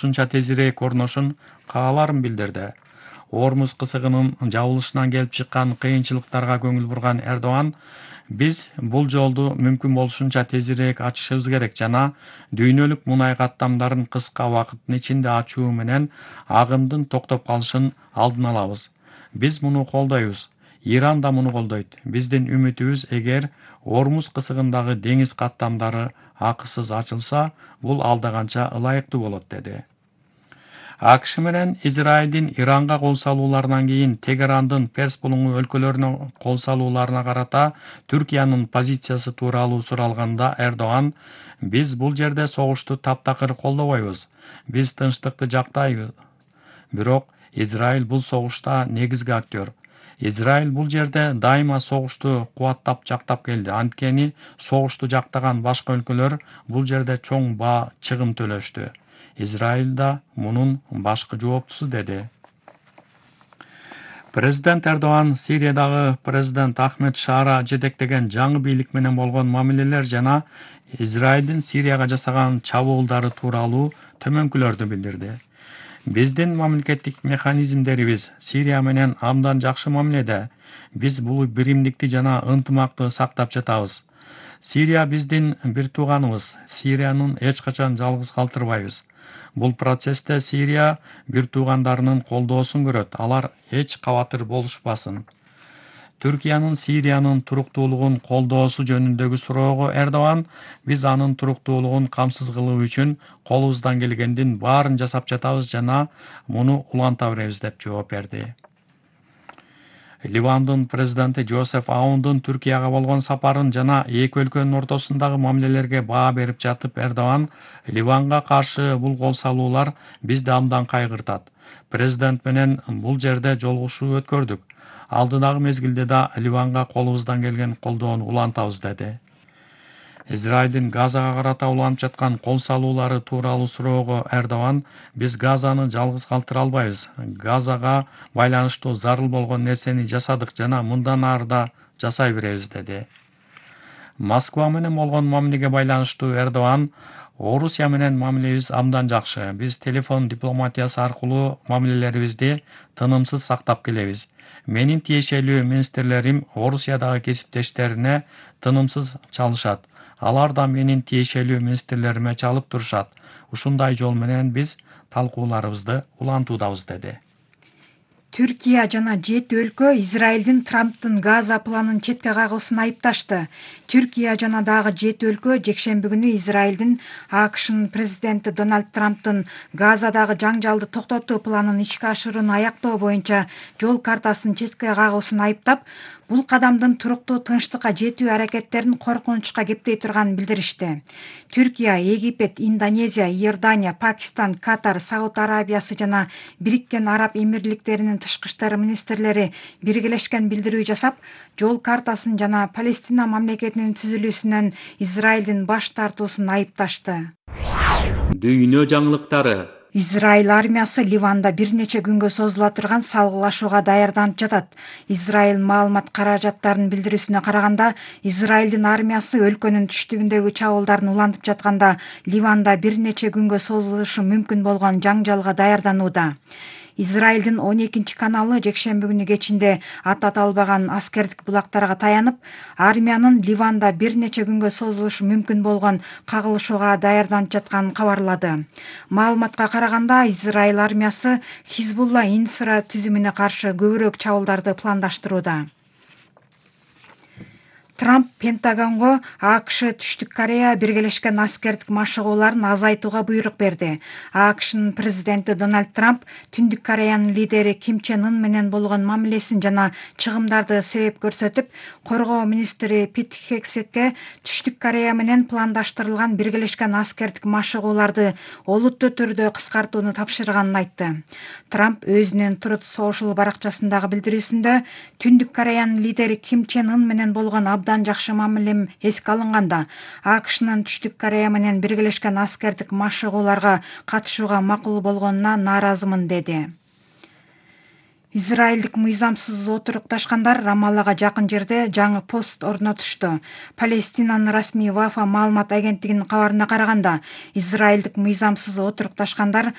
ушунча тезирээк орношун кааларын билдирди. Ормуз кысыгынын жабылышынан келип чыккан кыйынчылыктарга көңүл бурган Эрдоган, биз бул жолду мүмкүн болушунча тезирээк ачышыбыз керек жана дүйнөлүк мунай каттамдарын кыска убакыттын ичинде ачуу менен агымдын токтоп калышын алдын алабыз. Биз муну колдойбуз. Иран да муну колдойт. Биздин үмүтүбүз эгер Ормуз кысыгындагы деңиз каттамдары акысыз ачылса, бул алда канча ылайыктуу болот, деди. АКШ менен Израилдин Иранга кол салууларынан кийин Тегерандын Перс булуңу өлкөлөрүнө кол салууларына карата Түркиянын позициясы тууралуу суралганда Эрдоган, биз бул жерде согушту таптакыр колдобойбуз. Биз тынчтыкты жактайбыз. Бирок Израиль бул согушта негизги актер. Израиль бул жерде дайыма согушту кубаттап жактап келди. Анткени согушту жактаган башка өлкөлөр бул жерде чоң баа чыгым төлөштү. Израиль да мунун башкы жооптусу, деди. Президент Эрдоган Сириядагы президент Ахмед Шаара жетектеген жаңы бийлик менен болгон мамилелер жана Израилдин Сирияга жасаган чабуулдары тууралуу төмөнкүлөрдү билдирди. Биздин мамлекеттик механизмдерибиз Сирия менен абдан жакшы мамиледе. Биз бул биримдикти жана ынтымакты сактап жатабыз. Сирия биздин бир тууганыбыз. Сириянын эч качан жалгыз калтырбайбыз. Бул процессте Сирия бир туугандарынын колдоосун көрөт. Алар эч кабатыр болушпасын. Түркиянын Сириянын туруктуулугун колдоосу жөнүндөгү суроого Эрдоган, биз анын туруктуулугун камсыз кылуу үчүн колубуздан келгендин баарын жасап жатабыз жана муну уланта беребиз, деп жооп берди. Ливандын президенти Жозеф Аундун Түркияга болгон сапарын жана эки өлкөнүн ортосундагы мамилелерге баа берип жатып Эрдоган, Ливанга каршы бул кол салуулар бизди абдан кайгыртат. Президент менен бул жерде жолугушуу өткөрдүк. Алдыдагы мезгилде да Ливанга колубуздан келген колдоону улантабыз, деди. Израилдин Газага карата уланып жаткан кол салуулары тууралуу суроого Эрдоган, биз Газаны жалгыз калтыра албайбыз. Газага байланыштуу зарыл болгон нерсени жасадык жана мындан ары да жасай беребиз, деди. Москва менен болгон мамилеге байланыштуу Эрдоган, Орусия менен мамилебиз абдан жакшы. Биз телефон дипломатиясы аркылуу мамилелерибизди тынымсыз сактап келебиз. Менин тиешелүү министрлерим Орусиядагы кесиптештерине тынымсыз чалышат. Алар да менин тиешелүү министрлериме чалып турушат. Ушундай жол менен биз талкууларыбызды улантуудабыз, деди. Түркия жана 7 өлкө Израилдин Трамптын Газа планын четке кагуусун айыпташты. Түркия жана дагы 7 өлкө жекшемби күнү Израилдин АКШнын президенти Дональд Трамптын Газадагы жаңжалды токтотуу планын ишке ашырууну аяктоо боюнча жол картасын четке кагуусун айыптап, бул кадамдын туруктуу тынчтыкка жетүү аракеттерин коркунучка кептей турганын билдиришти. Түркия, Египет, Индонезия, Иордания, Пакистан, Катар, Сауд Арабиясы жана Бириккен Араб Эмирликтеринин тышкы иштер министрлери биргелешкен билдирүү жасап, жол картасын жана Палестина мамлекетинин түзүлүүсүнөн Израилдин баш тартуусун айыпташты. Дүйнө жаңылыктары. Израиль армиясы Ливанда бир нече күнгө созула турган салгылашууга даярданып жатат. Израиль маалымат каражаттарынын билдирүүсүнө караганда, Израилдин армиясы өлкөнүн түштүгүндөгү чабуулдарын улантып жатканда Ливанда бир нече күнгө созулушу мүмкүн болгон жаңжалга даярданууда. Израилдин 12 каналы жекшемби күнү кечинде аты аталбаган аскердик булактарга таянып, армиянын Ливанда бир нече күнгө созулушу мүмкүн болгон кагылышууга даярданып жатканын кабарлады. Маалыматка караганда, Израиль армиясы Хизбулла инфра түзүмүнө каршы көбүрөөк чабуулдарды пландаштырууда. Трамп Пентагонго АКШ Түштүк Корея биргелешкен аскердик машыгууларын азайтууга буйрук берди. АКШнын президенти Дональд Трамп Түндүк Кореянын лидери Ким Чен Ын менен болгон мамилесин жана чыгымдарды себеп көрсөтүп, коргоо министри Пит Хексетке Түштүк Корея менен пландаштырылган биргелешкен аскердик машыгууларды олуттуу түрдө кыскартууну тапшырганын айтты. Трамп өзүнүн Truth Social баракчасындагы билдирүүсүндө Түндүк Кореянын лидери Ким Чен Ын менен болгон абдан жакшы мамилем эске алынганда, АКШнын Түштүк Корея менен биргелешкен аскердик машыгууларга катышууга макул болгонуна нааразымын, деди. Израилдик мыйзамсыз отурукташкандар Рамаллага жакын жерде жаңы пост орнотушту. Палестинанын расмий Вафа маалымат агенттигинин кабарына караганда, израилдик мыйзамсыз отурукташкандар